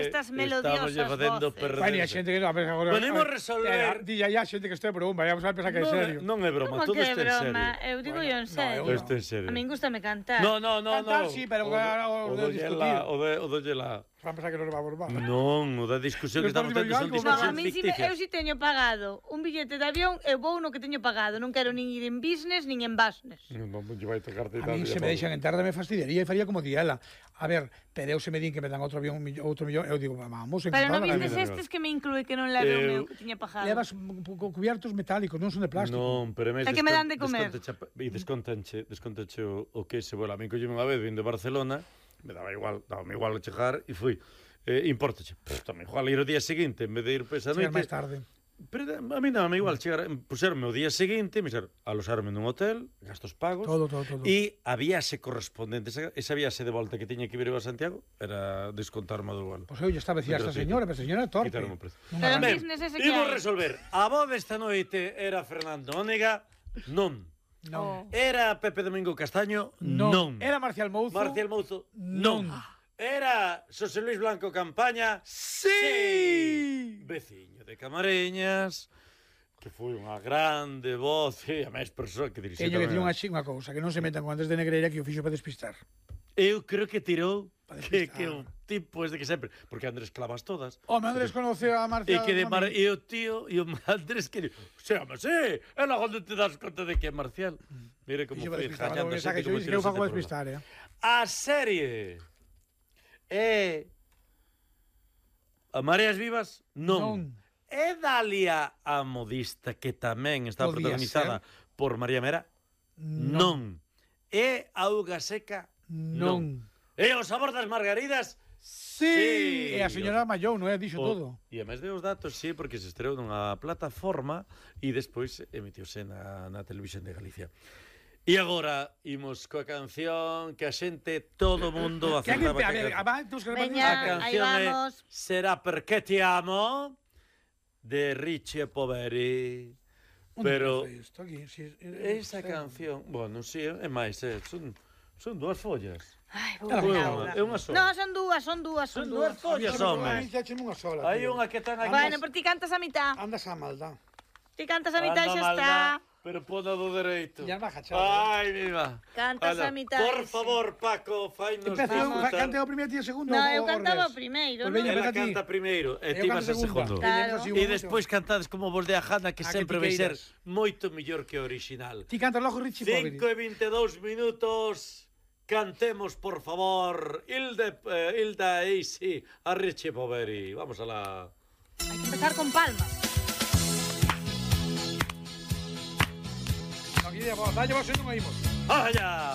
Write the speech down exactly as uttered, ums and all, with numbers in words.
estas melodiosas voces. Bueno, a xente que non, a ver, agora... Podemos resolver... Dilla ya xente que este broma, vamos a pensar que é serio. Non é broma, todo está en serio. Eu digo yo en serio. Está en serio. A min gustame cantar. No, no, no, no. Cantar sí, pero o de discutir. O do Yela. Van pensar que non vamos mal. Non, o da discusión que estamos tendo son discusións ficticias. Eu si teño pagado un billete de avión, eu vou no que teño pagado. Non quero nin ir en business, nin en business. Non, non, vai tocarte. A mí se me deixan entrar, me fastidiaría e faría como diela. A ver, pero eu se me din que me dan outro avión, outro millón, eu digo, vamos, pero non vistes estes que me inclúe que non leve o meu que tiña pagado. Levas cubiertos metálicos, non son de plástico. Non, pero é que me dan de comer. E descontanche, descontanche o que se vuela. A mí collime unha vez vindo de Barcelona, me daba igual, daba igual chegar e fui. Eh, importache, tamén igual ir o día seguinte en vez de ir por esa noite. Chegar máis tarde. Pero a mí dame igual chegar, puserme o día seguinte, me ser alosarme nun hotel, gastos pagos. Todo, todo, todo. E a viaxe correspondente, esa, esa viaxe de volta que tiña que vir a Santiago, era descontarme do vuelo. Pois eu lle estaba a decir a esta señora, pero a señora é torpe. Pero en business ese que hai. Imos resolver. A voz desta noite era Fernando Ónega, non. Non. Era Pepe Domingo Castaño, non. non. Era Marcial Mouzo, Marcial Mouzo, non. non. Era Xosé Luis Blanco Campaña, sí. sí. Veciño de Camareñas, que foi unha grande voz, e a máis persoa que dirixía. Teño que dicir unha xinga cousa, que non se metan con Andrés de Negreira que o fixo para despistar. Eu creo que tirou que, que o tipo es de que sempre, porque Andrés clavas todas. Home, Andrés conoceu a Marcial. E que de Mar... e o tío e o Andrés que se ama, sí, é lá onde te das conta de que é Marcial. Mire como foi jallando a xente como que eu fago despistar, eh. A serie é a Mareas Vivas? Non. non. É Dalia a modista, que tamén está Podía protagonizada ser. por María Mera? Non. non. É Auga Seca? Non. non. É O Sabor das Margaridas? Sí. sí. E a señora Mallou, non é? Dixo o, todo. E a máis de os datos, sí, porque se estreou nunha plataforma e despois emitiuse na, na televisión de Galicia. E agora imos coa canción que a xente, todo o mundo acertaba. A ver, a canción é Será Perché Ti Amo, de Richie Poveri. Pero esa canción, bueno, si, é máis, son son dúas follas. Ai, vou ver. É unha sola. Non, son dúas, son dúas, son dúas follas, home. Hai unha que ten aquí. Bueno, pero ti cantas a mitad. Andas a maldad. Ti cantas a mitad e xa está. Pero poda do dereito. Ya baja, chaval. Ai, viva. Cantas a mitad. Por favor, Paco, fainos disfrutar. Cante o primeiro e o segundo. No, eu cantaba o primeiro, non? Ela canta primeiro e ti vas a segundo. E despois cantades como vos de a Jana, que sempre vai ser moito mellor que o original. Ti cantas logo Richie Poveri. cinco e vinte e dous minutos. Cantemos, por favor, Hilda, eh, Hilda Easy a Richie Poveri. Vamos a la... Hai que empezar con palmas. Aquí, dalle vos e non oímos. ¡Allá!